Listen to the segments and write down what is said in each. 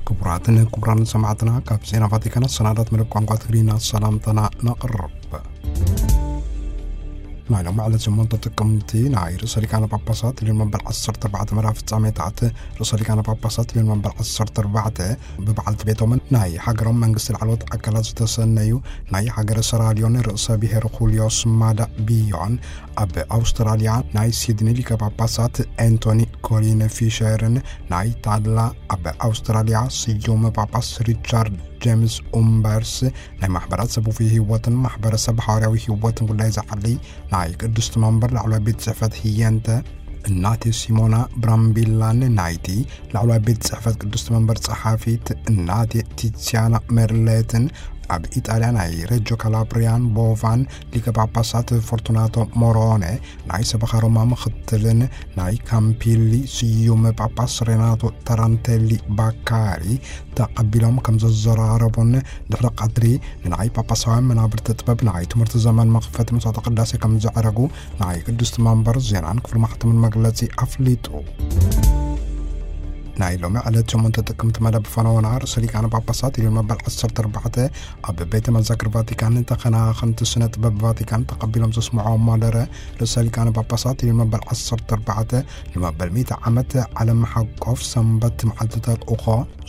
ክቡራትን ክቡራን ሰማዕትና፣ ካብ ዜና ቫቲካን ሰናዳት መደብ ቋንቋ ትግርኛ ሰላምታና ነቕርብ። ናይ ሎም ዕለት ሸሞንተ ጥቅምቲ ናይ ርእሰ ሊቃነ ጳጳሳት ልዮን መበል ዓሰርተ ኣርባዕተ መርሃ ፍጻሜታት፣ ርእሰ ሊቃነ ጳጳሳት ልዮን መበል ዓሰርተ ኣርባዕተ ብበዓልቲ ቤቶምን ናይ ሃገሮም መንግስቲ ላዕለዎት ኣካላት ዝተሰነዩ ናይ ሃገረ ሰራልዮን ርእሰ ብሔር ኩልዮ ስማዳ ቢዮን፣ ኣብ ኣውስትራልያ ናይ ሲድኒ ሊቀ ጳጳሳት ኤንቶኒ ኮሊን ፊሸርን ናይ ታላ ኣብ ኣውስትራልያ ስዩም ጳጳስ ሪቻርድ ጄምስ ኡምበርስ፣ ናይ ማሕበራት ሰብ ውፉይ ህይወትን ማሕበረሰብ ሃዋርያዊ ህይወትን ጉዳይ ዝዓሊ ናይ ቅድስቲ መንበር ላዕለዋይ ቤት ጽሕፈት ህየንተ እናቴ ሲሞና ብራምቢላን ናይቲ ላዕለዋይ ቤት ጽሕፈት ቅድስቲ መንበር ጸሓፊት እናቴ ቲሲያና ሜርሌትን፣ ኣብ ኢጣልያ ናይ ሬጆ ካላብሪያን ቦቫን ሊቀ ጳጳሳት ፎርቱናቶ ሞሮነ፣ ናይ ሰበኻ ሮማ ምኽትልን ናይ ካምፒሊ ስዩም ጳጳስ ሬናቶ ታራንቴሊ ባካሪ ተቐቢሎም ከም ዘዘራረቡን፣ ድሕሪ ቀትሪ ንናይ ጳጳሳውያን መናብርቲ ጥበብ ናይ ትምህርቲ ዘመን መኽፈቲ መስዋዕተ ቅዳሴ ከም ዘዕረጉ ናይ ቅድስቲ መንበር ዜናን ክፍሊ ማሕተምን መግለጺ ኣፍሊጡ። ናይ ሎሚ ዕለት ሸሞንተ ጥቅምቲ መደብ ፈነወና ርእሰ ሊቃነ ጳጳሳት ልዮን መበል ዓሰርተ ኣርባዕተ ኣብ ቤተ መዘክር ቫቲካን ተኸናኸንቲ ስነ ጥበብ ቫቲካን ተቐቢሎም ዘስምዖ ማደረ፣ ርእሰ ሊቃነ ጳጳሳት ልዮን መበል ዓሰርተ ኣርባዕተ ንመበል ሚእቲ ዓመት ዓለም ሓቆፍ ሰንበት መዓልቲ ተልእኾ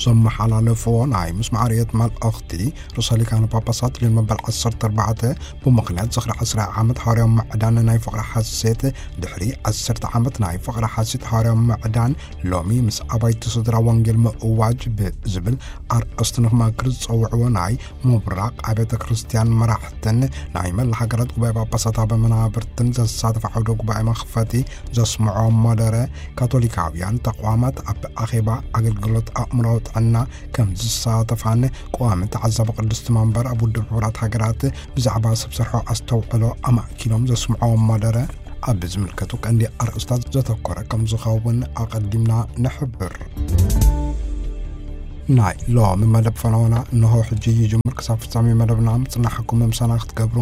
ዘመሓላለፍዎ ናይ ምስማዕ ርእየት መልእኽቲ፣ ርእሰ ሊቃነ ጳጳሳት ልዮን መበል ዓሰርተ ኣርባዕተ ብምኽንያት ዝኽሪ ዓስራ ዓመት ሃዋርያዊ ምዕዳን ናይ ፍቕሪ ሓሴት፣ ድሕሪ ዓሰርተ ዓመት ናይ ፍቕሪ ሓሴት ሃዋርያዊ ምዕዳን፣ ሎሚ ምስ ኣባይቲ ስድራ ወንጌል ምእዋጅ ብዝብል ኣርእስቲ ንክመክር ዝጸውዕዎ ናይ ምብራቕ ኣብያተ ክርስቲያን መራሕትን ናይ መላ ሃገራት ጉባኤ ጳጳሳት ኣብ መናብርትን ዘሳተፈ ዓውደ ጉባኤ መኽፈቲ ዘስምዖ መደረ፣ ካቶሊካውያን ተቋማት ኣብ ኣኼባ ኣገልግሎት ኣእምራዊ ጥዕና ከም ዝሳተፋን፣ ቀዋሚ ተዓዛቢ ቅድስቲ መንበር ኣብ ውድብ ሕቡራት ሃገራት ብዛዕባ ሰብ ሰርሖ ኣስተውዕሎ ኣማእኪሎም ዘስምዖ መደረ፣ ኣብ ዝምልከቱ ቀንዲ ኣርእስታት ዘተኮረ ከም ዝኸውን ኣቐዲምና ንሕብር። ናይ ሎሚ መደብ ፈነወና እንሆ ሕጂ ይጅምር። ክሳብ ፍጻሜ መደብና ምጽናሕኩም ምሳና ክትገብሩ፣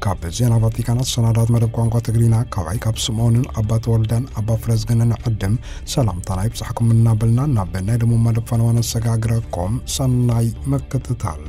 ካብ ዜና ቫቲካን ሰናዳት መደብ ቋንቋ ትግርኛ ካባይ ካብ ስምኦንን ኣባ ተወልደን ኣባ ፍረዝግንን ዕድም ሰላምታና ይብጻሕኩም እናበልና፣ ናብ ናይ ደሞ መደብ ፈነወና ነሰጋግረኩም። ሰናይ ምክትታል።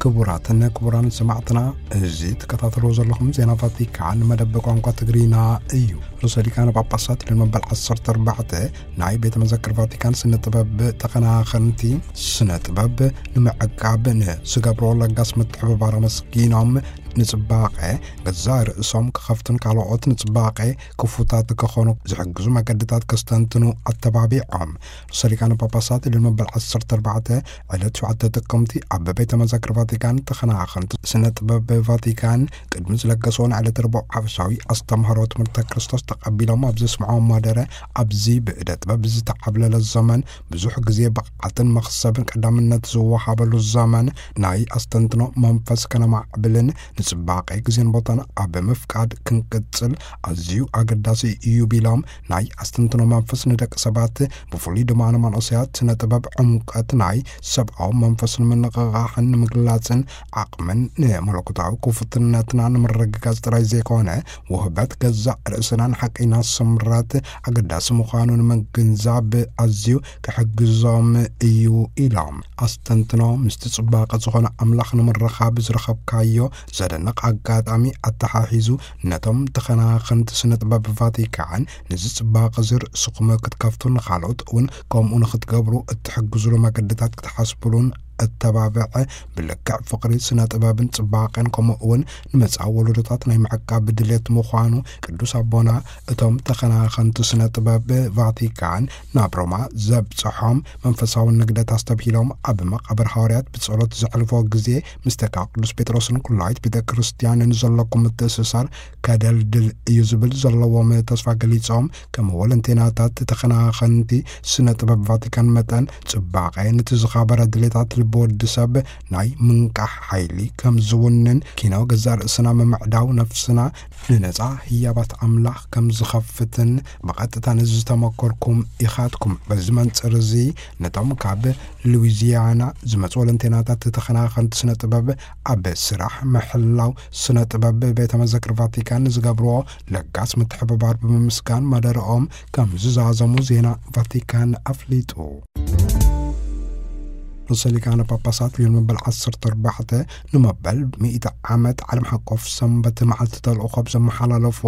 ክቡራትን ክቡራን ሰማዕትና፣ እዚ ትከታተልዎ ዘለኹም ዜና ቫቲካን መደብ ቋንቋ ትግርኛ እዩ። ርእሰ ሊቃነ ጳጳሳት ልዮን መበል ዓሰርተ ኣርባዕተ ናይ ቤተ መዘክር ቫቲካን ስነ ጥበብ ተኸናኸንቲ፣ ስነ ጥበብ ንምዕቃብ ንዝገብርዎ ለጋስ ምትሕብባር ኣመስጊኖም፣ ንጽባቐ ገዛእ ርእሶም ክኸፍቱን ካልኦት ንጽባቐ ክፉታት ክኾኑ ዝሕግዙ መገድታት ከስተንትኑ ኣተባቢዖም። ርእሰ ሊቃነ ጳጳሳት ልዮን መበል ዓሰርተ ኣርባዕተ ዕለት ሸውዓተ ጥቅምቲ ኣብ ቤተ መዘክር ቫቲካን ተኸናኸንቲ ስነ ጥበብ ቫቲካን ቅድሚ ዝለገስዎ ናይ ዕለት ረቡዕ ሓፈሻዊ ኣስተምህሮ ትምህርተ ክርስቶስ ተቐቢሎም ኣብ ዘስምዖ ማደረ፣ ኣብዚ ብእደ ጥበብ ዝተዓብለለ ዘመን ብዙሕ ግዜ ብቕዓትን መኽሰብን ቀዳምነት ዝወሃበሉ ዘመን ናይ ኣስተንትኖ መንፈስ ከነማዕብልን ንጽባቐ ግዜን ቦታን ኣብ ምፍቃድ ክንቅጽል ኣዝዩ ኣገዳሲ እዩ ቢሎም፣ ናይ ኣስተንትኖ መንፈስ ንደቂ ሰባት ብፍሉይ ድማ ንመንእሰያት ስነ ጥበብ ዕምቀት ናይ ሰብኣዊ መንፈስ ንምንቕቓሕን ንምግላጽን ዓቕምን ንመለኮታዊ ክፉትነትና ንምርግጋጽ ጥራይ ዘይኮነ፣ ውህበት ገዛእ ርእስናን ሓቀይና ስምረት ኣገዳሲ ምዃኑ ንምግንዛብ ኣዝዩ ክሕግዞም እዩ ኢሎም። ኣስተንትኖ ምስቲ ጽባቐ ዝኾነ ኣምላኽ ንምርኻብ ዝረኸብካዮ ዘደንቕ ኣጋጣሚ ኣተሓሒዙ፣ ነቶም ተኸናኸንቲ ስነ ጥበብ ቫቲካን፣ ነዚ ጽባቐ እዚ ርእስኹም ክትከፍቱ፣ ንኻልኦት እውን ከምኡ ንኽትገብሩ እትሕግዙሉ መገድታት ክትሓስቡሉን እተባብዐ፣ ብልክዕ ፍቕሪ ስነ ጥበብን ጽባቐን ከምኡ እውን ንመጻኢ ወለዶታት ናይ ምዕቃብ ድሌት ምዃኑ ቅዱስ ኣቦና እቶም ተኸናኸንቲ ስነ ጥበብ ቫቲካን ናብ ሮማ ዘብጽሖም መንፈሳዊ ንግደት ኣስተብሂሎም፣ ኣብ መቓብር ሃዋርያት ብጸሎት ዘሕልፎ ግዜ፣ ምስ ተካ ቅዱስ ጴጥሮስን ኩላይት ቤተ ክርስቲያንን ዘለኩም ምትእስሳር ከደልድል እዩ ዝብል ዘለዎም ተስፋ ገሊጾም፣ ከም ወለንቴናታት ተኸናኸንቲ ስነ ጥበብ ቫቲካን መጠን፣ ጽባቐ ነቲ ዝኻበረ ድሌታት ልቢ ብወዲ ሰብ ናይ ምንቃሕ ሓይሊ ከም ዝውንን፣ ኪኖ ገዛእ ርእስና ምምዕዳው ነፍስና ንነጻ ህያባት ኣምላኽ ከም ዝኸፍትን ብቐጥታ ነዚ ዝተመኮርኩም ኢኻትኩም። በዚ መንጽር እዚ ነቶም ካብ ሉዊዚያና ዝመጹ ወለንቴናታት ተኸናኸንቲ ስነ ጥበብ ኣብ ስራሕ ምሕላው ስነ ጥበብ ቤተ መዘክር ቫቲካን ዝገብርዎ ለጋስ ምትሕብባር ብምምስጋን መደረኦም ከም ዝዛዘሙ ዜና ቫቲካን ኣፍሊጡ። ርእሰ ሊቃነ ጳጳሳት ሊዮን መበል ዓሰርተ ኣርባዕተ ንመበል ሚእቲ ዓመት ዓለም ሓቆፍ ሰንበት መዓልቲ ተልእኾ ብዘመሓላለፎ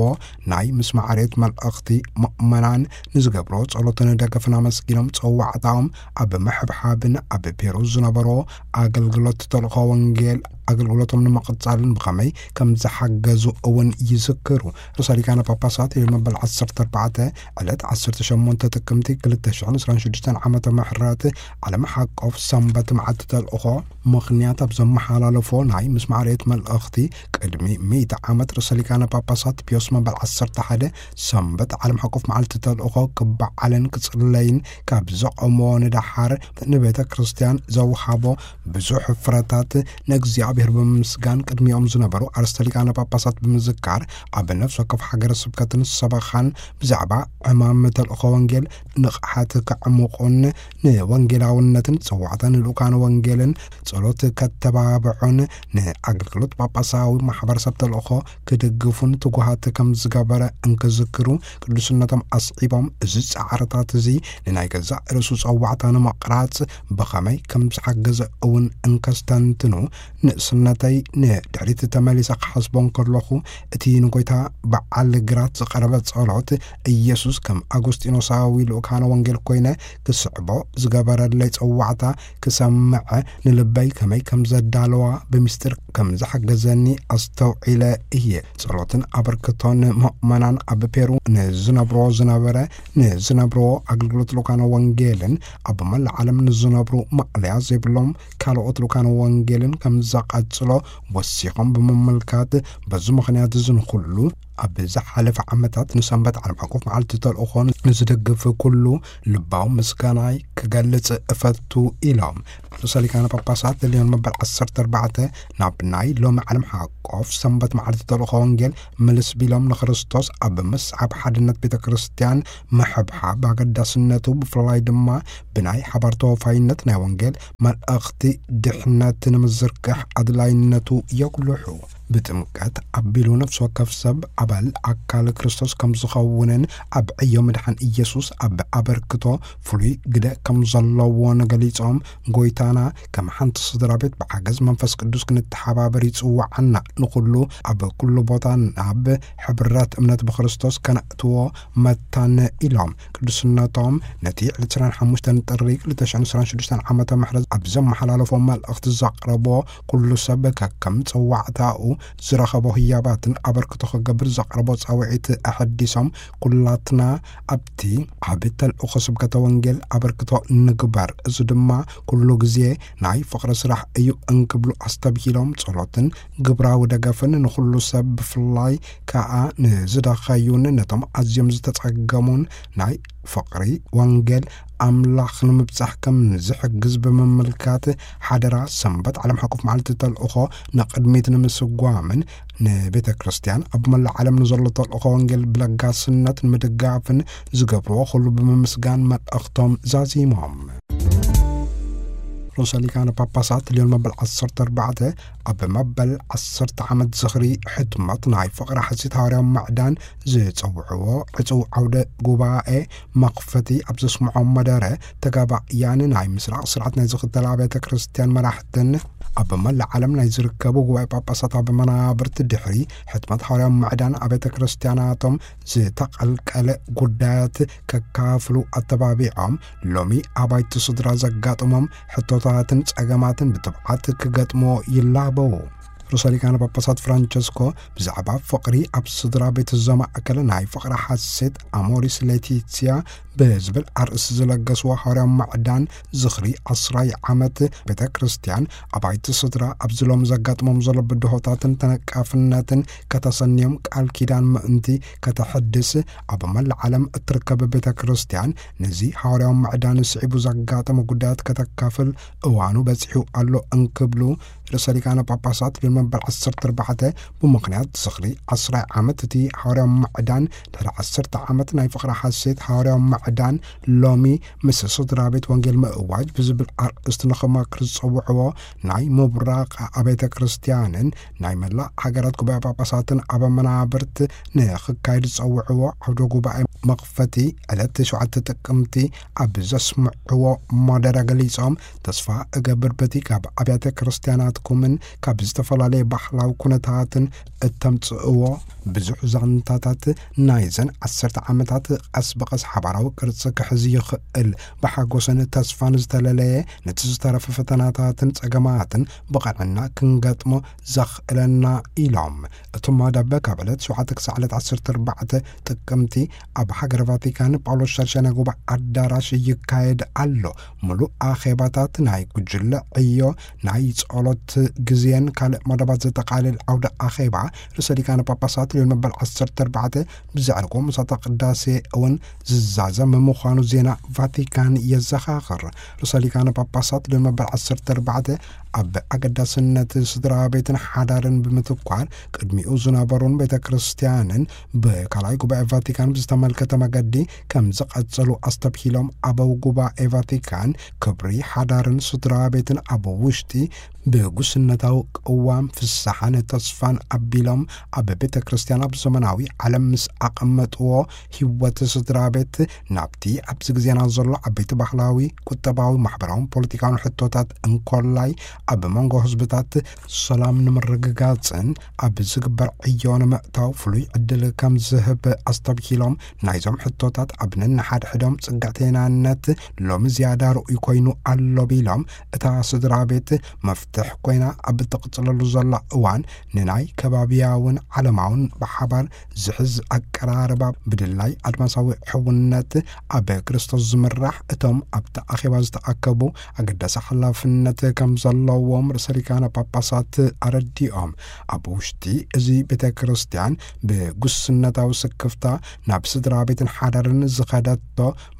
ናይ ምስማዕ ሬት መልእኽቲ ምእመናን ንዝገብሮ ጸሎትን ደገፍን ኣመስጊኖም ጸዋዕታኦም ኣብ ምሕብሓብን ኣብ ፔሩ ዝነበሮ ኣገልግሎት ተልእኾ ወንጌል ኣገልግሎቶም ንምቕጻልን ብኸመይ ከም ዝሓገዙ እውን ይዝክሩ። ርእሰ ሊቃነ ጳጳሳት ሊዮን መበል ዓሰርተ ኣርባዕተ ዕለት ዓሰርተ ሸሞንተ ጥቅምቲ ክልተ ሽሕን ዕስራን ሽዱሽተን ዓመተ ምሕረት ዓለም ሓቆፍ ሰንበት መዓልቲ ተልእኾ ምኽንያት ኣብ ዘመሓላለፎ ናይ ምስማዕ ሬት መልእኽቲ፣ ቅድሚ ሚእቲ ዓመት ርእሰ ሊቃነ ጳጳሳት ፒዮስ መበል ዓሰርተ ሓደ ሰንበት ዓለም ሓቆፍ መዓልቲ ተልእኾ ክበዓልን ክጽለይን ካብ ዘቐሞ ንደሓር ንቤተ ክርስቲያን ዘውሃቦ ብዙሕ ፍረታት ንእግዚኣብሔር ብምምስጋን ቅድሚኦም ዝነበሩ ኣርእስተ ሊቃነ ጳጳሳት ብምዝካር፣ ኣብ ነፍሲ ወከፍ ሃገረ ስብከትን ሰበኻን ብዛዕባ ዕማም ተልእኾ ወንጌል ንቕሓት ከዕምቑን ንወንጌላውነትን ጸዋዕታ ንልኡካን ወንጌልን ጸሎት ከተባብዑን ንኣገልግሎት ጳጳሳዊ ማሕበረሰብ ተልእኾ ክድግፉን ትጉሃት ከም ዝገበረ እንክዝክሩ፣ ቅዱስነቶም ኣስዒቦም፣ እዚ ጻዕርታት እዚ ንናይ ገዛእ ርእሱ ጸዋዕታ ንምቕራጽ ብኸመይ ከም ዝሓገዘ እውን እንከስተንትኑ፣ ንእስነተይ ንድሕሪት ተመሊሰ ክሓስቦ እንከለኹ፣ እቲ ንጎይታ በዓል ግራት ዝቐረበ ጸሎት፣ ኢየሱስ ከም ኣጉስጢኖሳዊ ልኡካነ ወንጌል ኮይነ ክስዕቦ ዝገበረለይ ጸዋዕታ ክሰምዐ፣ ንልበይ ከመይ ከም ዘዳለዋ፣ ብምስጢር ከም ዝሓገዘኒ ኣስተውዒለ እየ። ጸሎትን ኣበርክቶን ምእመናን ኣብ ፔሩ ንዝነብሮ ዝነበረ፣ ንዝነብርዎ ኣገልግሎት ልኡካነ ወንጌልን ኣብ መላእ ዓለም ንዝነብሩ ማእለያ ዘይብሎም ካልኦት ልኡካነ ወንጌልን ከም ዘቐጽሎ ወሲኾም ብምምልካት፣ በዚ ምኽንያት እዚ ንኹሉ ኣብ ዝሓለፈ ዓመታት ንሰንበት ዓለም ዓቀፍ መዓልቲ ተልእኾ ንዝድግፍ ኩሉ ልባዊ ምስጋናይ ክገልጽ እፈቱ ኢሎም። ርእሰ ሊቃነ ጳጳሳት ሊዮን መበል ዓሰርተ ኣርባዕተ ናብ ናይ ሎሚ ዓለም ሓቆፍ ሰንበት መዓልቲ ተልእኾ ወንጌል ምልስ ቢሎም ንክርስቶስ ኣብ ምስዓብ ሓድነት ቤተ ክርስቲያን ምሕብሓብ ኣገዳስነቱ ብፍላይ ድማ ብናይ ሓባር ተወፋይነት ናይ ወንጌል መልእኽቲ ድሕነት ንምዝርጋሕ ኣድላይነቱ የጉልሑ። ብጥምቀት ኣቢሉ ነፍሲ ወከፍ ሰብ ኣባል ኣካል ክርስቶስ ከም ዝኸውንን ኣብ ዕዮ ምድሓን ኢየሱስ ኣብ ኣበርክቶ ፍሉይ ግደ ከም ዘለዎን ገሊጾም፣ ጎይታና ከም ሓንቲ ስድራ ቤት ብሓገዝ መንፈስ ቅዱስ ክንተሓባበር ይጽውዓና፣ ንኹሉ ኣብ ኩሉ ቦታ ናብ ሕብረት እምነት ብክርስቶስ ከነእትዎ መታን ኢሎም። ቅዱስነቶም ነቲ ዕለት ዕስራን ሓሙሽተን ጥሪ ክልተ ሽሕን ዕስራን ሽዱሽተን ዓመተ ምሕረት ኣብ ዘመሓላለፎ መልእኽቲ ዘቕረቦ፣ ኩሉ ሰብ ከከም ጸዋዕታኡ ዝረኸቦ ህያባትን ኣበርክቶ ክገብር ዘቕረቦ ጻውዒት ኣሐዲሶም፣ ኩላትና ኣብቲ ዓቢ ተልእኾ ስብከተ ወንጌል ኣበርክቶ ንግበር፣ እዚ ድማ ኩሉ ግዜ ናይ ፍቕሪ ስራሕ እዩ እንክብሉ ኣስተብሂሎም፣ ጸሎትን ግብራዊ ደገፍን ንኹሉ ሰብ ብፍላይ ከኣ ንዝደኸዩን ነቶም ኣዝዮም ዝተጸገሙን ናይ ፍቕሪ ወንጌል ኣምላኽ ንምብጻሕ ከም ዝሕግዝ ብምምልካት፣ ሓደራ ሰንበት ዓለም ሓቆፍ መዓልቲ ተልእኾ ንቕድሚት ንምስጓምን ንቤተ ክርስቲያን ኣብ መላእ ዓለም ንዘሎ ተልእኾ ወንጌል ብለጋስነት ንምድጋፍን ዝገብርዎ ኩሉ ብምምስጋን መልእኽቶም ዛዚሞም። ርእሰ ሊቃነ ጳጳሳት ልዮን መበል ዓሰርተ ኣርባዕተ ኣብ መበል ዓሰርተ ዓመት ዝኽሪ ሕትመት ናይ ፍቕሪ ሓሲት ሃዋርያዊ ምዕዳን ዝጸውዕዎ ዕጹው ዓውደ ጉባኤ መኽፈቲ ኣብ ዘስምዖም መደረ፣ ተጋባእያን ናይ ምስራቕ ስርዓት ናይ ዝኽተላ ኣብያተ ክርስቲያን መራሕትን ኣብ መላእ ዓለም ናይ ዝርከቡ ጉባኤ ጳጳሳት ኣብ መናብርቲ ድሕሪ ሕትመት ሃዋርያዊ ምዕዳን ኣብያተ ክርስቲያናቶም ዝተቐልቀለ ጉዳያት ከካፍሉ ኣተባቢዖም፣ ሎሚ ኣባይቲ ስድራ ዘጋጥሞም ሕቶታትን ጸገማትን ብትብዓት ክገጥሞ ይላበዉ። ርእሰ ሊቃነ ጳጳሳት ፍራንቸስኮ ብዛዕባ ፍቕሪ ኣብ ስድራ ቤት ዘማእከለ ናይ ፍቕሪ ሓሴት ኣሞሪስ ሌቲሲያ ብዝብል ኣርእስቲ ዝለገስዎ ሃዋርያዊ ማዕዳን ዝኽሪ ዓስራይ ዓመት ቤተ ክርስቲያን፣ ኣባይቲ ስድራ ኣብዚ ሎም ዘጋጥሞም ዘሎ ብድሆታትን ተነቃፍነትን ከተሰንዮም ቃል ኪዳን ምእንቲ ከተሕድስ፣ ኣብ መላእ ዓለም እትርከብ ቤተ ክርስቲያን ነዚ ሃዋርያዊ ማዕዳን ስዒቡ ዘጋጠመ ጉዳያት ከተካፍል እዋኑ በጺሑ ኣሎ እንክብሉ ርእሰ ሊቃነ ጳጳሳት ሊዮን መበል ዓሰርተ ኣርባዕተ ብምኽንያት ዝኽሪ ዓስራይ ዓመት እቲ ሃዋርያዊ ማዕዳን ድሕሪ ዓሰርተ ዓመት ናይ ፍቕሪ ሓሴት ሃዋርያዊ ማዕዳን ሎሚ ምስ ስድራ ቤት ወንጌል ምእዋጅ ብዝብል ኣርእስቲ ንኽመክር ዝጸውዕዎ ናይ ምብራቕ ኣቤተ ክርስቲያንን ናይ መላእ ሃገራት ጉባኤ ጳጳሳትን ኣበ መናብርት ንኽካየድ ዝጸውዕዎ ዓውደ ጉባኤ መኽፈቲ ዕለት ሸውዓተ ጥቅምቲ ኣብ ዘስምዕዎ መደረ ገሊጾም፣ ተስፋ እገብር በቲ ካብ ኣብያተ ክርስቲያናትኩምን ካብ ዝተፈላለየ ባህላዊ ኩነታትን እተምጽእዎ ብዙሕ ዛንታታት ናይዘን ዓሰርተ ዓመታት ቀስ ብቐስ ሓባራዊ ቅርጺ ክሕዝ ይኽእል፣ ብሓጎስን ተስፋን ዝተለለየ ነቲ ዝተረፈ ፈተናታትን ጸገማትን ብቐንዕና ክንገጥሞ ዘኽእለና ኢሎም። እቲ መደብ ካብ ዕለት ሸውዓተ ክሳዕ ዕለት ዓሰርተ ኣርባዕተ ጥቅምቲ ኣብ ሃገረ ቫቲካን ጳውሎስ ሻድሻይ ናይ ጉባኤ ኣዳራሽ ይካየድ ኣሎ። ምሉእ ኣኼባታት ናይ ጉጅለ ዕዮ፣ ናይ ጸሎት ግዜን ካልእ መደባት ዘጠቓልል ዓውደ ኣኼባ ርእሰ ሊቃነ ጳጳሳት ሊዮን መበል ዓሰርተ ኣርባዕተ ብዘዕርጎ ምሳተ ቅዳሴ እውን ዝዛዘም ምዃኑ ዜና ቫቲካን የዘኻኽር። ርእሰ ሊቃነ ጳጳሳት ሊዮን መበል ዓሰርተ ኣርባዕተ ኣብ ኣገዳስነት ስድራ ቤትን ሓዳርን ብምትኳር ቅድሚኡ ዝነበሩን ቤተ ክርስቲያንን ብካልኣይ ጉባኤ ቫቲካን ብዝተመልከተ መገዲ ከም ዝቐጸሉ ኣስተብሂሎም፣ ኣበው ጉባኤ ቫቲካን ክብሪ ሓዳርን ስድራ ቤትን ኣብ ውሽጢ ብጉስነታዊ ቅዋም ፍስሓን ተስፋን ኣቢሎም ኣብ ቤተ ክርስቲያን ኣብ ዘመናዊ ዓለም ምስ ኣቐመጥዎ ህይወት ስድራ ቤት ናብቲ ኣብዚ ግዜና ዘሎ ዓበይቲ ባህላዊ፣ ቁጠባዊ፣ ማሕበራውን ፖለቲካውን ሕቶታት እንኮላይ ኣብ መንጎ ህዝብታት ሰላም ንምርግጋጽን ኣብ ዝግበር ዕዮ ንምእታው ፍሉይ ዕድል ከም ዝህብ ኣስተብሂሎም፣ ናይዞም ሕቶታት ኣብ ነንሓድሕዶም ጽግዕተይናነት ሎሚ ዝያዳ ርኡይ ኮይኑ ኣሎ ቢሎም፣ እታ ስድራ ቤት መፍትሕ ኮይና ኣብ እትቕጽለሉ ዘላ እዋን ንናይ ከባብያውን ዓለማውን ብሓባር ዝሕዝ ኣቀራርባ ብድላይ ኣድማሳዊ ሕውነት ኣብ ክርስቶስ ዝምራሕ እቶም ኣብቲ ኣኼባ ዝተኣከቡ ኣገዳሲ ሓላፍነት ከም ዘለዎም ርእሰ ሊቃነ ጳጳሳት ኣረዲኦም። ኣብ ውሽጢ እዚ ቤተ ክርስቲያን ብጉስነታዊ ስክፍታ ናብ ስድራ ቤትን ሓዳርን ዝኸደቶ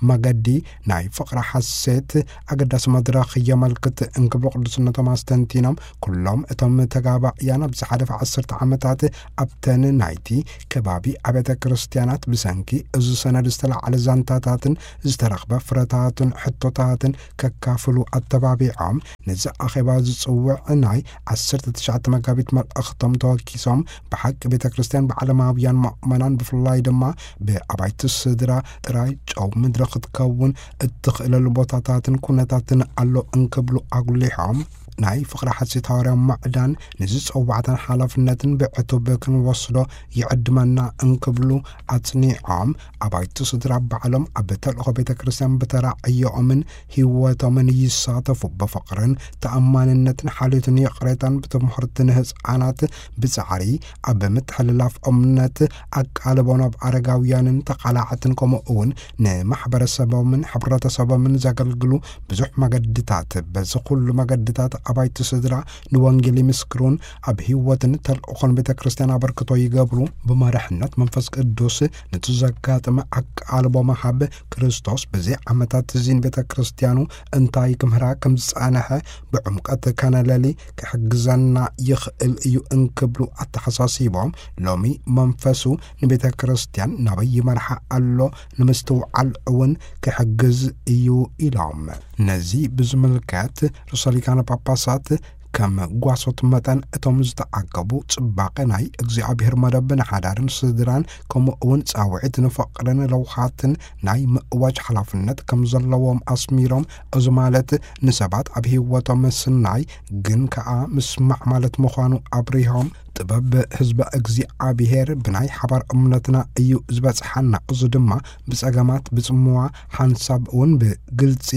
መገዲ ናይ ፍቕሪ ሓሴት ኣገዳሲ መድረኽ የመልክት እንክብሉ ቅዱስነቶም ኣስተንቲኖም፣ ኩሎም እቶም ተጋባእያን ኣብ ዝሓለፈ ዓሰርተ ዓመታት ኣብተን ናይቲ ከባቢ ኣብያተ ክርስቲያናት ብሰንኪ እዚ ሰነድ ዝተላዕለ ዛንታታትን ዝተረኽበ ፍረታትን ሕቶታትን ከካፍሉ ኣተባቢዖም፣ ነዚ ኣኼባ ዝጽውዕ ናይ ዓሰርተ ትሽዓተ መጋቢት መልእኽቶም ተወኪሶም፣ ብሓቂ ቤተ ክርስቲያን ብዓለማውያን ምእመናን ብፍላይ ድማ ብኣባይቲ ስድራ ጥራይ ጨው ምድሪ ክትከውን እትኽእለሉ ቦታታትን ኩነታትን ኣሎ እንክብሉ ኣጉሊሖም፣ ናይ ፍቕሪ ሓሴት ሃዋርያዊ ማዕዳን ንዝጸዋዕታን ሓላፍነትን ብዕቱብ ክንወስዶ ይዕድመና እንክብሉ ኣጽኒዖም፣ ኣባይቲ ስድራ ባዕሎም ኣብ ተልእኾ ቤተ ክርስቲያን ብተራ ዕዮኦምን ህይወቶምን ይሳተፉ። ብፍቕርን ተኣማንነትን ሓልዮትን ይቕሬታን ብትምህርቲ ንህፃናት ብጻዕሪ ኣብ ምትሕልላፍ እምነት ኣቃልቦ ናብ ኣረጋውያንን ተቓላዕትን ከምኡ እውን ንማሕበረሰቦምን ሕብረተሰቦምን ዘገልግሉ ብዙሕ መገድታት። በዚ ኩሉ መገድታት ኣባይቲ ስድራ ንወንጌል ይምስክሩን ኣብ ህይወትን ተልእኾን ቤተ ክርስቲያን ኣበርክቶ ይገብሩ። ብመራሕነት መንፈስ ቅዱስ ነቲ ዘጋጠመ ኣቃልቦ መሃብ ክርስቶስ በዚ ዓመታት እዚ ንቤተ ክርስቲያኑ እንታይ ክምህራ ከም ዝጸንሐ ብዕምቀት ከነለሊ ክሕግዘና ይኽእል እዩ እንክብሉ ኣተሓሳሲቦም፣ ሎሚ መንፈሱ ንቤተ ክርስቲያን ናበይ ይመርሓ ኣሎ ንምስትውዓል እውን ክሕግዝ እዩ ኢሎም። ነዚ ብዝምልከት ርእሰ ሊቃነ ጳጳሳት ከም ጓሶት መጠን እቶም ዝተኣከቡ ጽባቐ ናይ እግዚኣብሔር መደብ ንሓዳርን ስድራን ከምኡ እውን ጻውዒት ንፍቕርን ለውሃትን ናይ ምእዋጅ ሓላፍነት ከም ዘለዎም ኣስሚሮም፣ እዚ ማለት ንሰባት ኣብ ህይወቶም ምስናይ ግን ከኣ ምስማዕ ማለት ምዃኑ ኣብሪሆም፣ ጥበብ ህዝበ እግዚኣብሔር ብናይ ሓባር እምነትና እዩ ዝበጽሓና። እዚ ድማ ብጸገማት፣ ብጽምዋ፣ ሓንሳብ እውን ብግልጺ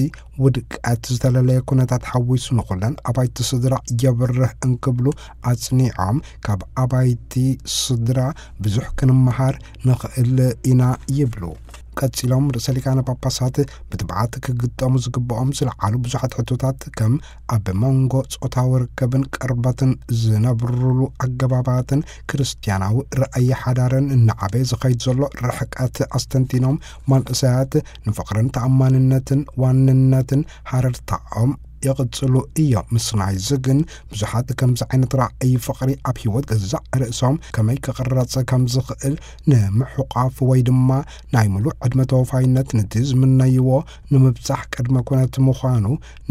ውድቀት ዝተለለየ ኩነታት ሓዊሱ ንኹለን ኣባይቲ ስድራ የብርህ እንክብሉ ኣጽኒዖም፣ ካብ ኣባይቲ ስድራ ብዙሕ ክንመሃር ንኽእል ኢና ይብሉ። ቀጺሎም ርእሰ ሊቃነ ጳጳሳት ብትብዓት ክግጠሙ ዝግብኦም ዝለዓሉ ብዙሓት ሕቶታት፣ ከም ኣብ መንጎ ጾታዊ ርከብን ቅርበትን ዝነብሩሉ ኣገባባትን ክርስትያናዊ ራእይ ሓዳርን እናዓበየ ዝኸይድ ዘሎ ርሕቀት ኣስተንቲኖም፣ መንእሰያት ንፍቕርን ተኣማንነትን ዋንነትን ሃረርታኦም ይቕጽሉ እዮም። ምስ ናይዚ ግን ብዙሓት ከምዚ ዓይነት ራእይ ፍቕሪ ኣብ ህይወት ገዛእ ርእሶም ከመይ ክቕረጽ ከም ዝኽእል ንምሕቋፍ ወይ ድማ ናይ ምሉእ ዕድመ ተወፋይነት ነቲ ዝምነይዎ ንምብጻሕ ቅድመ ኩነት ምዃኑ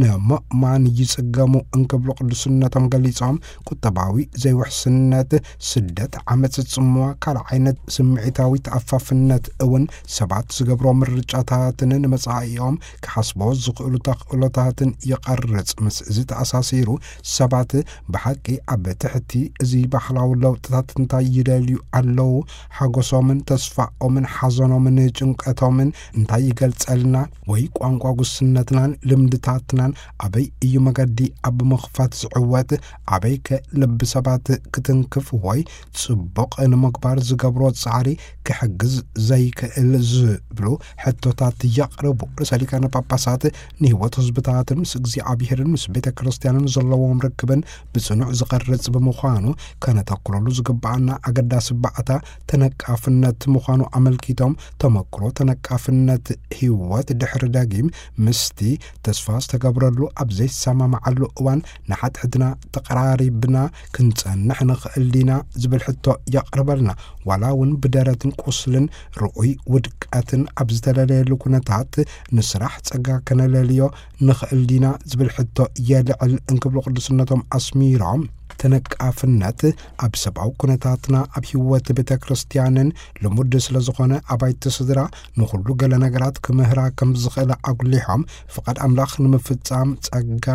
ንምእማን ይጽገሙ እንክብሉ ቅዱስነቶም ገሊጾም፣ ቁጠባዊ ዘይውሕስነት፣ ስደት፣ ዓመጽ፣ ጽምዋ፣ ካልእ ዓይነት ስምዒታዊ ተኣፋፍነት እውን ሰባት ዝገብሮ ምርጫታትን ንመጻኢኦም ክሓስቦ ዝኽእሉ ተኽእሎታትን ይቐርጽ። ምስ እዚ ተኣሳሲሩ ሰባት ብሓቂ ኣብ ትሕቲ እዚ ባህላዊ ለውጥታት እንታይ ይደልዩ ኣለዉ? ሓጎሶምን ተስፋኦምን ሓዘኖምን ጭንቀቶምን እንታይ ይገልጸልና? ወይ ቋንቋ ጉስነትናን ልምድታትናን ኣበይ እዩ መገዲ ኣብ ምኽፋት ዝዕወት? ኣበይ ከ ልቢ ሰባት ክትንክፍ ወይ ጽቡቕ ንምግባር ዝገብሮ ጻዕሪ ክሕግዝ ዘይክእል ዝብሉ ሕቶታት የቕርቡ። ርእሰ ሊቃነ ጳጳሳት ንህይወት ህዝብታትን ምስ እግዚኣብሔርን ምስ ቤተ ክርስቲያንን ዘለዎም ርክብን ብጽኑዕ ዝቐርጽ ብምዃኑ፣ ከነተኩረሉ ዝግብኣና ኣገዳሲ ባእታ ተነቃፍነት ምዃኑ ኣመልኪቶም፣ ተመክሮ ተነቃፍነት ህይወት ድሕሪ ደጊም ምስቲ ተስፋ ዝተገብረሉ ኣብ ዘይሰማማዓሉ እዋን ንሓድሕድና ተቐራሪብና ክንጸንሕ ንኽእል ዲና ዝብል ሕቶ የቕርበልና። ዋላ እውን ብደረትን ቁስልን ርኡይ ውድቀትን ኣብ ዝተለለየሉ ኩነታት፣ ንስራሕ ጸጋ ከነለልዮ ንኽእል ዲና ዝብል ሕቶ የልዕል እንክብሉ ቅዱስነቶም ኣስሚሮም፣ ተነቃፍነት ኣብ ሰብኣዊ ኩነታትና፣ ኣብ ህይወት ቤተ ክርስቲያንን ልሙድ ስለ ዝኾነ፣ ኣባይቲ ስድራ ንኹሉ ገለ ነገራት ክምህራ ከም ዝኽእላ ኣጉሊሖም፣ ፍቓድ ኣምላኽ ንምፍጻም ጸጋ፣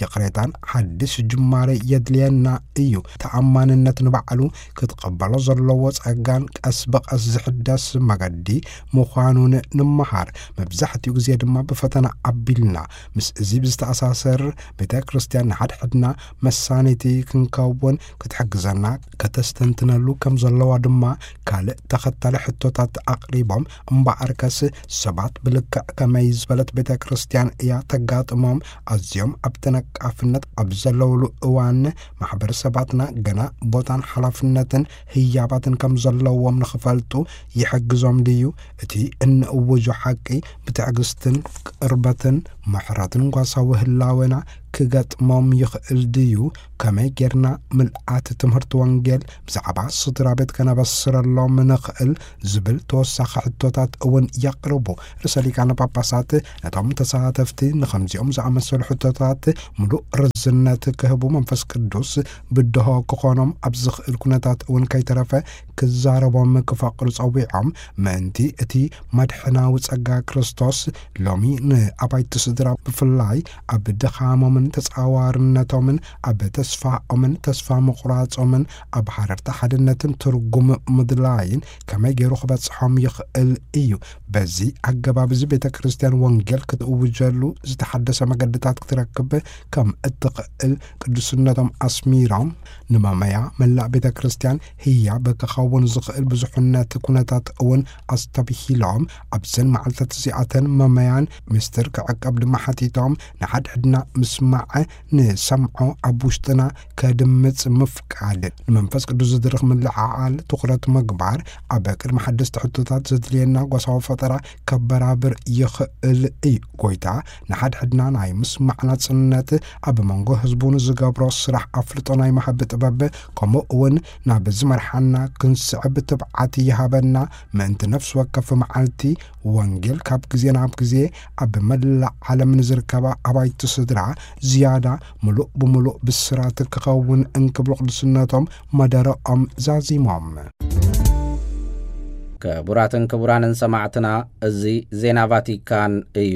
ይቕሬታን ሓድሽ ጅማሬ የድልየና እዩ። ተኣማንነት ንባዕሉ ክትቐበሎ ዘለዎ ጸጋን ቀስ ብቐስ ዝሕደስ መገዲ ምዃኑን ንምሃር። መብዛሕትኡ ግዜ ድማ ብፈተና ኣቢልና። ምስ እዚ ብዝተኣሳሰር፣ ቤተ ክርስቲያን ንሓድሕድና መሳኒቲ ክንከውን ክትሕግዘና ከተስተንትነሉ ከም ዘለዋ ድማ ካልእ ተኸታሊ ሕቶታት ኣቕሪቦም። እምበኣርከስ ሰባት ብልክዕ ከመይ ዝበለት ቤተ ክርስቲያን እያ ተጋጥሞም? ኣዝዮም ኣብ ተነቃፍነት ኣብ ዘለውሉ እዋን፣ ማሕበረሰባትና ገና ቦታን ሓላፍነትን ህያባትን ከም ዘለዎም ንኽፈልጡ ይሕግዞም ድዩ? እቲ እንእውጆ ሓቂ ብትዕግስትን ቅርበትን ምሕረትን ጓሳዊ ህላዌና ክገጥሞም ይኽእል ድዩ? ከመይ ጌርና ምልኣት ትምህርቲ ወንጌል ብዛዕባ ስድራ ቤት ከነበስረሎም ንኽእል? ዝብል ተወሳኺ ሕቶታት እውን የቕርቡ። ርእሰ ሊቃነ ጳጳሳት ነቶም ተሳተፍቲ ንኸምዚኦም ዝኣመሰሉ ሕቶታት ምሉእ ርዝነት ክህቡ መንፈስ ቅዱስ ብድሆ ክኾኖም ኣብ ዝኽእል ኩነታት እውን ከይተረፈ ክዛረቦም ክፈቕዱ ጸዊዖም። ምእንቲ እቲ መድሕናዊ ጸጋ ክርስቶስ ሎሚ ንኣባይቲ ስድራ ብፍላይ ኣብ ድኻሞምን ተጻዋርነቶምን ኣብ ተስፋኦምን ተስፋ ምቑራጾምን ኣብ ሃረርታ ሓድነትን ትርጉም ምድላይን ከመይ ገይሩ ክበጽሖም ይኽእል እዩ። በዚ ኣገባብ እዚ ቤተ ክርስቲያን ወንጌል ክትእውጀሉ ዝተሓደሰ መገድታት ክትረክብ ከም እትኽእል ቅዱስነቶም ኣስሚሮም፣ ንመመያ መላእ ቤተ ክርስቲያን ህያብ ክኸውን ዝኽእል ብዙሕነት ኩነታት እውን ኣስተብሂሎም፣ ኣብዘን መዓልታት እዚኣተን መመያን ምስጢር ክዕቀብ ድማ ሓቲቶም፣ ንሓድሕድና ምስማዕ፣ ንሰምዖ ኣብ ውሽጥና ከድምጽ ምፍቃድ፣ ንመንፈስ ቅዱስ ዝድርኽ ምልዕዓል ትኹረት ምግባር፣ ኣብ ቅድሚ ሓደስቲ ሕቶታት ዘድልየና ጓሳዊ ፈጠራ ከበራብር ይኽእል እዩ። ጎይታ ንሓድሕድና ናይ ምስማዕ ናጽነት፣ ኣብ መንጎ ህዝቡ ንዝገብሮ ስራሕ ኣፍልጦ ናይ ምሃብ ጥበብ፣ ከምኡ እውን ናብ ዝመርሓና ክንስዕብ ትብዓት ይሃበና። ምእንቲ ነፍሲ ወከፍ መዓልቲ ወንጌል ካብ ግዜ ናብ ግዜ ኣብ መላእ ዓለም ንዝርከባ ኣባይቲ ስድራ ዝያዳ ምሉእ ብምሉእ ብስራት ክኸውን እንክብሉ ቅዱስነቶም መደረኦም ዛዚሞም። ክቡራትን ክቡራንን ሰማዕትና፣ እዚ ዜና ቫቲካን እዩ።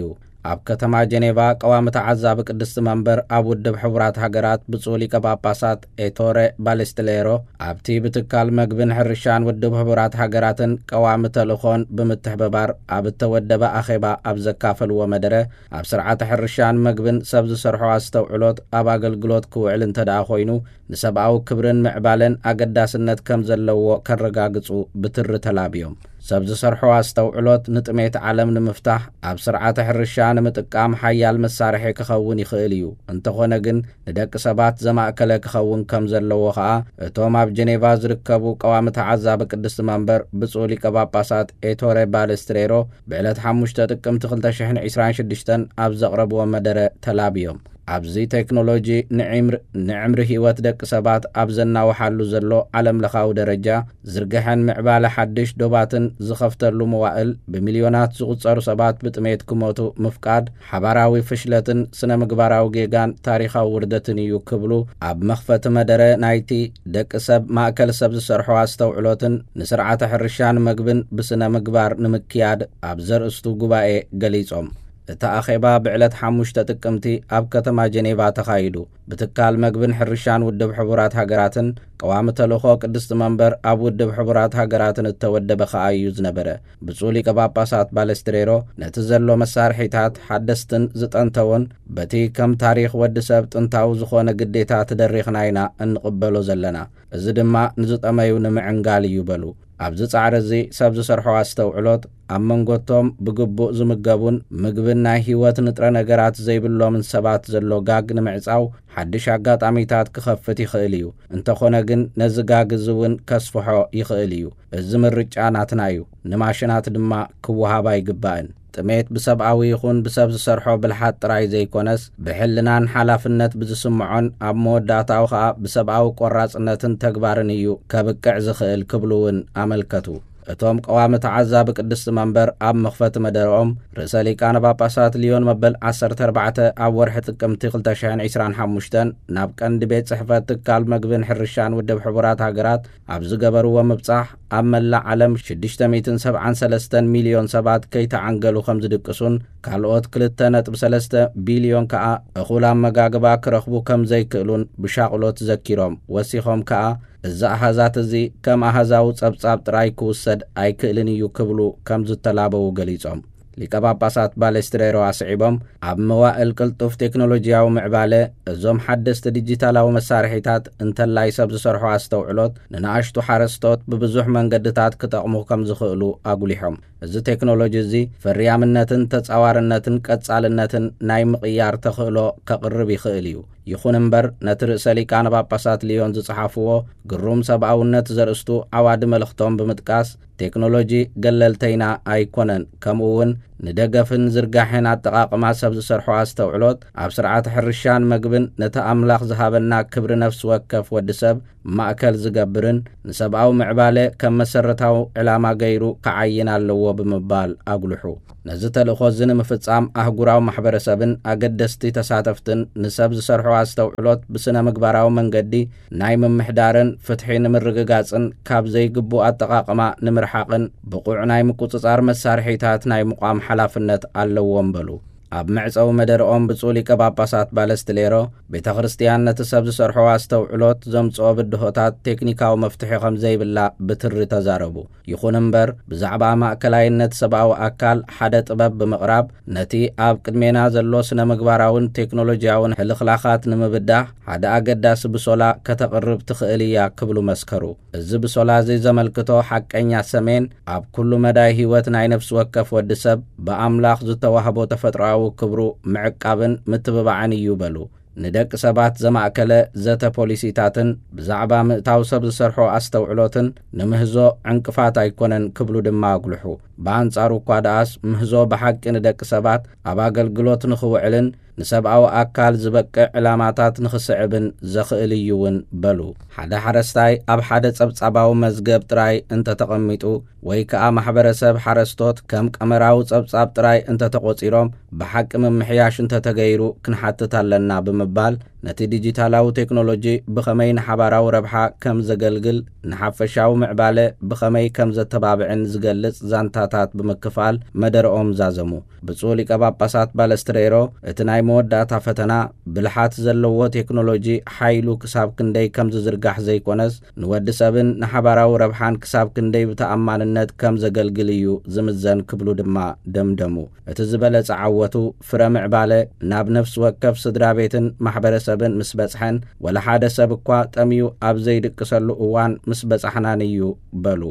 ኣብ ከተማ ጀኔቫ ቀዋሚ ተዓዛቢ ቅድስቲ መንበር ኣብ ውድብ ሕቡራት ሃገራት ብፁዕ ሊቀ ጳጳሳት ኤቶረ ባሌስትሌሮ ኣብቲ ብትካል መግብን ሕርሻን ውድብ ሕቡራት ሃገራትን ቀዋሚ ተልእኾን ብምትሕብባር ኣብ እተወደበ ኣኼባ ኣብ ዘካፈልዎ መደረ፣ ኣብ ስርዓተ ሕርሻን መግብን ሰብ ዝሰርሖ ኣስተውዕሎት ኣብ ኣገልግሎት ክውዕል እንተ ደኣ ኮይኑ፣ ንሰብኣዊ ክብርን ምዕባለን ኣገዳስነት ከም ዘለዎ ከረጋግጹ ብትሪ ተላብዮም። ሰብ ዝሰርሖ ኣስተውዕሎት ንጥሜት ዓለም ንምፍታሕ ኣብ ስርዓተ ሕርሻ ንምጥቃም ሓያል መሳርሒ ክኸውን ይኽእል እዩ። እንተኾነ ግን ንደቂ ሰባት ዘማእከለ ክኸውን ከም ዘለዎ ኸኣ እቶም ኣብ ጀኔቫ ዝርከቡ ቀዋሚ ተዓዛቢ ቅድስቲ መንበር ብፁዕ ሊቀ ጳጳሳት ኤቶሬ ባለስትሬሮ ብዕለት ሓሙሽተ ጥቅምቲ ክልተ ሽሕን ዕስራን ሽዱሽተን ኣብ ዘቕረብዎ መደረ ተላብዮም። ኣብዚ ቴክኖሎጂ ንዕምር-፣ ንዕምሪ ህይወት ደቂ ሰባት ኣብ ዘናውሓሉ ዘሎ ዓለምለኻዊ ደረጃ ዝርግሐን ምዕባለ ሓድሽ ዶባትን ዝኸፍተሉ መዋእል ብሚልዮናት ዝቑጸሩ ሰባት ብጥሜት ክሞቱ ምፍቃድ ሓባራዊ ፍሽለትን ስነ ምግባራዊ ጌጋን ታሪኻዊ ውርደትን እዩ ክብሉ ኣብ መኽፈቲ መደረ ናይቲ ደቂ ሰብ ማእከል ሰብ ዝሰርሖ ኣስተውዕሎትን ንስርዓተ ሕርሻን መግብን ብስነ ምግባር ንምክያድ ኣብ ዘርእስቱ ጉባኤ ገሊጾም። እቲ ኣኼባ ብዕለት ሓሙሽተ ጥቅምቲ ኣብ ከተማ ጀኔቫ ተኻይዱ። ብትካል መግብን ሕርሻን ውድብ ሕቡራት ሃገራትን ቀዋሚ ተልእኾ ቅድስቲ መንበር ኣብ ውድብ ሕቡራት ሃገራትን እተወደበ ኸኣ እዩ ዝነበረ። ብፁዕ ሊቀ ጳጳሳት ባለስትሬሮ ነቲ ዘሎ መሳርሒታት ሓደስትን ዝጠንተውን በቲ ከም ታሪኽ ወዲ ሰብ ጥንታዊ ዝኾነ ግዴታ ተደሪኽና ኢና እንቕበሎ ዘለና። እዚ ድማ ንዝጠመዩ ንምዕንጋል እዩ በሉ። ኣብዚ ጻዕሪ እዚ ሰብ ዝሰርሖ ኣስተውዕሎት ኣብ መንጎቶም ብግቡእ ዝምገቡን ምግብን ናይ ህይወት ንጥረ ነገራት ዘይብሎምን ሰባት ዘሎ ጋግ ንምዕጻው ሓድሽ ኣጋጣሚታት ክኸፍት ይኽእል እዩ። እንተኾነ ግን ነዚ ጋግ እዚ እውን ከስፍሖ ይኽእል እዩ። እዚ ምርጫ ናትና እዩ። ንማሽናት ድማ ክወሃብ ኣይግባእን። ጥሜት ብሰብኣዊ ይኹን ብሰብ ዝሰርሖ ብልሓት ጥራይ ዘይኮነስ ብሕልናን ሓላፍነት ብዝስምዖን ኣብ መወዳእታኡ ኸኣ ብሰብኣዊ ቆራጽነትን ተግባርን እዩ ከብቅዕ ዝኽእል ክብሉ እውን ኣመልከቱ። እቶም ቀዋሚ ተዓዛቢ ቅድስቲ መንበር ኣብ መኽፈቲ መደረኦም ርእሰ ሊቃነ ጳጳሳት ሊዮን መበል ዓሰርተ ኣርባዕተ ኣብ ወርሒ ጥቅምቲ ክልተ ሽሕን ዕስራን ሓሙሽተን ናብ ቀንዲ ቤት ጽሕፈት ትካል መግብን ሕርሻን ውድብ ሕቡራት ሃገራት ኣብ ዝገበርዎ ምብጻሕ ኣብ መላእ ዓለም ሽዱሽተ ሚእትን ሰብዓን ሰለስተን ሚልዮን ሰባት ከይተዓንገሉ ከም ዝድቅሱን ካልኦት ክልተ ነጥቢ ሰለስተ ቢልዮን ከኣ እኹል ኣመጋግባ ክረኽቡ ከም ዘይክእሉን ብሻቕሎት ዘኪሮም፣ ወሲኾም ከኣ እዚ ኣሃዛት እዚ ከም ኣሃዛዊ ጸብጻብ ጥራይ ክውሰድ ኣይክእልን እዩ ክብሉ ከም ዝተላበዉ ገሊጾም። ሊቀ ጳጳሳት ባሌስትሬሮ ኣስዒቦም፣ ኣብ መዋእል ቅልጡፍ ቴክኖሎጂያዊ ምዕባለ፣ እዞም ሓደስቲ ዲጂታላዊ መሳርሒታት እንተላይ ሰብ ዝሰርሖ ኣስተውዕሎት ንንኣሽቱ ሓረስቶት ብብዙሕ መንገድታት ክጠቕሙ ከም ዝኽእሉ ኣጉሊሖም። እዚ ቴክኖሎጂ እዚ ፍርያምነትን ተጻዋርነትን ቀጻልነትን ናይ ምቕያር ተኽእሎ ከቕርብ ይኽእል እዩ። ይኹን እምበር፣ ነቲ ርእሰ ሊቃነ ጳጳሳት ልዮን ዝጸሓፍዎ ግሩም ሰብኣውነት ዘርእስቱ ዓዋዲ መልእኽቶም ብምጥቃስ፣ ቴክኖሎጂ ገለልተይና ኣይኮነን፣ ከምኡ እውን ንደገፍን ዝርጋሐን ኣጠቓቕማ ሰብ ዝሰርሖ ኣስተውዕሎት ኣብ ስርዓተ ሕርሻን መግብን ነቲ ኣምላኽ ዝሃበና ክብሪ ነፍሲ ወከፍ ወዲ ሰብ ማእከል ዝገብርን ንሰብኣዊ ምዕባለ ከም መሰረታዊ ዕላማ ገይሩ ክዓይን ኣለዎ ብምባል ኣጉልሑ። ነዚ ተልእኾ እዚ ንምፍጻም ኣህጉራዊ ማሕበረሰብን ኣገደስቲ ተሳተፍትን ንሰብ ዝሰርሖ ኣስተውዕሎት ብስነ ምግባራዊ መንገዲ ናይ ምምሕዳርን ፍትሒ ንምርግጋጽን ካብ ዘይግቡእ ኣጠቓቕማ ንምርሓቕን ብቑዕ ናይ ምቁጽጻር መሳርሒታት ናይ ምቋም ሓላፍነት ኣለዎም በሉ። ኣብ መዕጸዊ መደርኦም ብፁዕ ሊቀ ጳጳሳት ባለስትሌሮ ቤተ ክርስቲያን ነቲ ሰብ ዝሰርሖ ኣስተውዕሎት ዘምጽኦ ብድሆታት ቴክኒካዊ መፍትሒ ከም ዘይብላ ብትሪ ተዛረቡ። ይኹን እምበር፣ ብዛዕባ ማእከላይነት ሰብኣዊ ኣካል ሓደ ጥበብ ብምቕራብ፣ ነቲ ኣብ ቅድሜና ዘሎ ስነ ምግባራውን ቴክኖሎጂያውን ሕልኽላኻት ንምብዳህ ሓደ ኣገዳሲ ብሶላ ከተቕርብ ትኽእል እያ ክብሉ መስከሩ። እዚ ብሶላ እዚ ዘመልክቶ ሓቀኛ ሰሜን ኣብ ኩሉ መዳይ ህይወት ናይ ነፍሲ ወከፍ ወዲ ሰብ ብኣምላኽ ዝተዋህቦ ተፈጥሮኣዊ ክብሩ ምዕቃብን ምትብባዕን እዩ በሉ። ንደቂ ሰባት ዘማእከለ ዘተ ፖሊሲታትን ብዛዕባ ምእታው ሰብ ዝሰርሖ ኣስተውዕሎትን ንምህዞ ዕንቅፋት ኣይኮነን ክብሉ ድማ ኣጉልሑ። ብኣንጻሩ እኳ ደኣስ ምህዞ ብሓቂ ንደቂ ሰባት ኣብ ኣገልግሎት ንኽውዕልን ንሰብኣዊ ኣካል ዝበቅዕ ዕላማታት ንኽስዕብን ዘኽእል እዩ እውን በሉ። ሓደ ሓረስታይ ኣብ ሓደ ጸብጻባዊ መዝገብ ጥራይ እንተተቐሚጡ ወይ ከኣ ማሕበረሰብ ሓረስቶት ከም ቀመራዊ ጸብጻብ ጥራይ እንተተቖጺሮም ብሓቂ ምምሕያሽ እንተተገይሩ ክንሓትት ኣለና ብምባል ነቲ ዲጂታላዊ ቴክኖሎጂ ብኸመይ ንሓባራዊ ረብሓ ከም ዘገልግል ንሓፈሻዊ ምዕባለ ብኸመይ ከም ዘተባብዕን ዝገልጽ ዛንታታት ብምክፋል መደረኦም ዛዘሙ። ብፁዕ ሊቀ ጳጳሳት ባለስትሬሮ እቲ ናይ መወዳእታ ፈተና ብልሓት ዘለዎ ቴክኖሎጂ ሓይሉ ክሳብ ክንደይ ከም ዝዝርጋሕ ዘይኮነስ ንወዲ ሰብን ንሓባራዊ ረብሓን ክሳብ ክንደይ ብተኣማንነት ከም ዘገልግል እዩ ዝምዘን ክብሉ ድማ ደምደሙ። እቲ ዝበለጸ ዓወቱ ፍረ ምዕባለ ናብ ነፍሲ ወከፍ ስድራ ቤትን ማሕበረሰብን ምስ በጽሐን ወላ ሓደ ሰብ እኳ ጠምዩ ኣብ ዘይድቅሰሉ እዋን ምስ በጻሕናን እዩ በሉ።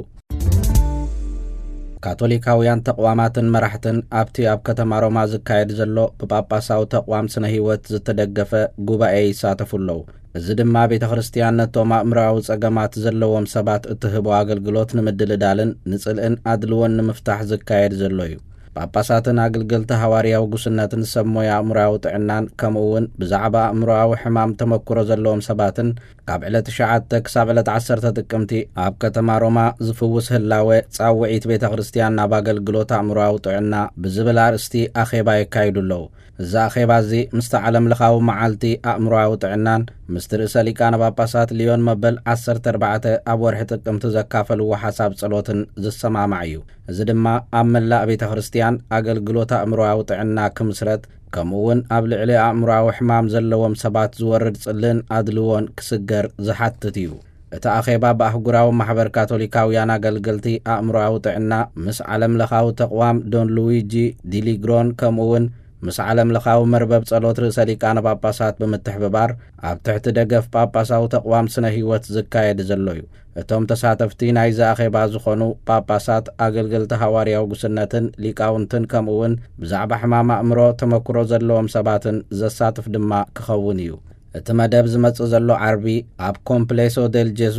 ካቶሊካውያን ተቕዋማትን መራሕትን ኣብቲ ኣብ ከተማ ሮማ ዝካየድ ዘሎ ብጳጳሳዊ ተቕዋም ስነ ህይወት ዝተደገፈ ጉባኤ ይሳተፉ ኣለዉ። እዚ ድማ ቤተ ክርስቲያን ነቶም ኣእምሮኣዊ ጸገማት ዘለዎም ሰባት እትህቦ ኣገልግሎት ንምድልዳልን ንጽልእን ኣድልዎን ንምፍታሕ ዝካየድ ዘሎ እዩ። ጳጳሳትን ኣገልገልቲ ሃዋርያዊ ጉስነትን ሰብ ሞያ ኣእምሮኣዊ ጥዕናን ከምኡ እውን ብዛዕባ ኣእምሮኣዊ ሕማም ተመክሮ ዘለዎም ሰባትን ካብ ዕለት ትሽዓተ ክሳብ ዕለት ዓሰርተ ጥቅምቲ ኣብ ከተማ ሮማ ዝፍውስ ህላወ ጻውዒት ቤተ ክርስቲያን ናብ ኣገልግሎት ኣእምሮኣዊ ጥዕና ብዝብል ኣርእስቲ ኣኼባ የካይዱ ኣለዉ። እዚ ኣኼባ እዚ ምስቲ ዓለም ለኻዊ መዓልቲ ኣእምሮኣዊ ጥዕናን ምስቲ ርእሰ ሊቃነ ጳጳሳት ሊዮን መበል ዓሰርተ ኣርባዕተ ኣብ ወርሒ ጥቅምቲ ዘካፈልዎ ሓሳብ ጸሎትን ዝሰማማዕ እዩ። እዚ ድማ ኣብ መላእ ቤተ ክርስቲያን ኣገልግሎት ኣእምሮኣዊ ጥዕና ክምስረት፣ ከምኡ እውን ኣብ ልዕሊ ኣእምሮኣዊ ሕማም ዘለዎም ሰባት ዝወርድ ጽልእን ኣድልዎን ክስገር ዝሓትት እዩ። እቲ ኣኼባ ብኣህጉራዊ ማሕበር ካቶሊካውያን ኣገልገልቲ ኣእምሮኣዊ ጥዕና ምስ ዓለም ለኻዊ ተቕዋም ዶን ሉዊጂ ዲሊግሮን ከምኡ እውን ምስ ዓለም ለኻዊ መርበብ ጸሎት ርእሰ ሊቃነ ጳጳሳት ብምትሕብባር ኣብ ትሕቲ ደገፍ ጳጳሳዊ ተቕዋም ስነ ህይወት ዝካየድ ዘሎ እዩ። እቶም ተሳተፍቲ ናይዚ ኣኼባ ዝኾኑ ጳጳሳት፣ ኣገልገልቲ ሃዋርያዊ ጉስነትን ሊቃውንትን ከምኡ እውን ብዛዕባ ሕማም ኣእምሮ ተመክሮ ዘለዎም ሰባትን ዘሳትፍ ድማ ክኸውን እዩ። እቲ መደብ ዝመጽእ ዘሎ ዓርቢ ኣብ ኮምፕሌሶ ዴል ጄሱ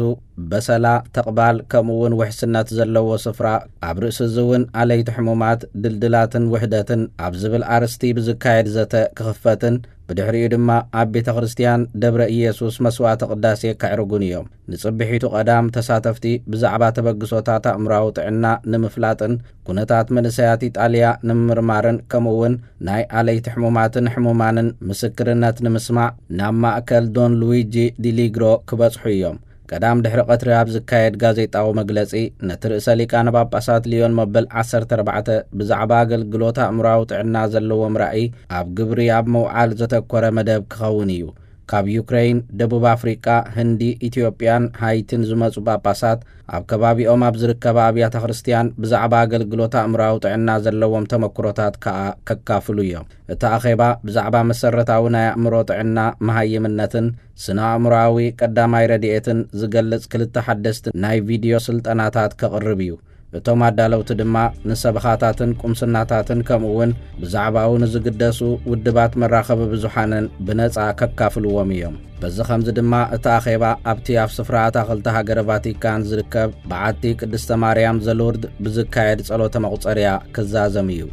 በሰላ፣ ተቕባል ከምኡ እውን ውሕስነት ዘለዎ ስፍራ፣ ኣብ ርእሲ እዚ እውን ኣለይቲ ሕሙማት፣ ድልድላትን ውህደትን ኣብ ዝብል ኣርእስቲ ብዝካየድ ዘተ ክኽፈትን ብድሕሪኡ ድማ ኣብ ቤተ ክርስቲያን ደብረ ኢየሱስ መስዋዕተ ቅዳሴ ከዕርጉን እዮም። ንጽብሒቱ ቀዳም ተሳተፍቲ ብዛዕባ ተበግሶታት ኣእምሮኣዊ ጥዕና ንምፍላጥን ኩነታት መንእሰያት ኢጣልያ ንምምርማርን ከምኡ እውን ናይ ኣለይቲ ሕሙማትን ሕሙማንን ምስክርነት ንምስማዕ ናብ ማእከል ዶን ሉዊጂ ዲሊግሮ ክበጽሑ እዮም። ቀዳም ድሕሪ ቀትሪ ኣብ ዝካየድ ጋዜጣዊ መግለጺ፣ ነቲ ርእሰ ሊቃነ ጳጳሳት ሊዮን መበል ዓሰርተ ኣርባዕተ ብዛዕባ ኣገልግሎት ኣእምሮኣዊ ጥዕና ዘለዎም ራእይ ኣብ ግብሪ ኣብ ምውዓል ዘተኮረ መደብ ክኸውን እዩ። ካብ ዩክረይን፣ ደቡብ ኣፍሪቃ፣ ህንዲ፣ ኢትዮጵያን ሃይቲን ዝመጹ ጳጳሳት ኣብ ከባቢኦም ኣብ ዝርከባ ኣብያተ ክርስቲያን ብዛዕባ ኣገልግሎት ኣእምሮኣዊ ጥዕና ዘለዎም ተመክሮታት ከኣ ከካፍሉ እዮም። እቲ ኣኼባ ብዛዕባ መሰረታዊ ናይ ኣእምሮ ጥዕና፣ መሃይምነትን ስነ ኣእምሮኣዊ ቀዳማይ ረድኤትን ዝገልጽ ክልተ ሓደስቲ ናይ ቪድዮ ስልጠናታት ከቕርብ እዩ። እቶም ኣዳለውቲ ድማ ንሰበኻታትን ቁምስናታትን ከምኡ እውን ብዛዕባኡ ንዝግደሱ ውድባት መራኸቢ ብዙሓንን ብነጻ ከካፍልዎም እዮም። በዚ ኸምዚ ድማ እቲ ኣኼባ ኣብቲ ኣብ ስፍራ ኣታኽልቲ ሃገረ ቫቲካን ዝርከብ በዓቲ ቅድስተ ማርያም ዘሉርድ ብዝካየድ ጸሎተ መቑጸርያ ክዛዘም እዩ።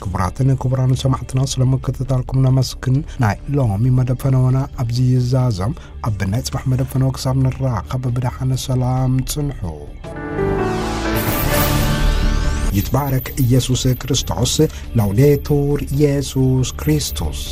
ክቡራትን ክቡራን ሰማዕትና፣ ስለ ምክትታልኩም ነመስግን። ናይ ሎሚ መደብ ፈነወና ኣብዚ ይዛዘም። ኣብ ናይ ጽባሕ መደብ ፈነወ ክሳብ ንራኸብ ብደሓን ሰላም ጽንሑ። ይትባረክ ኢየሱስ ክርስቶስ። ላውዴቱር ኢየሱስ ክርስቶስ።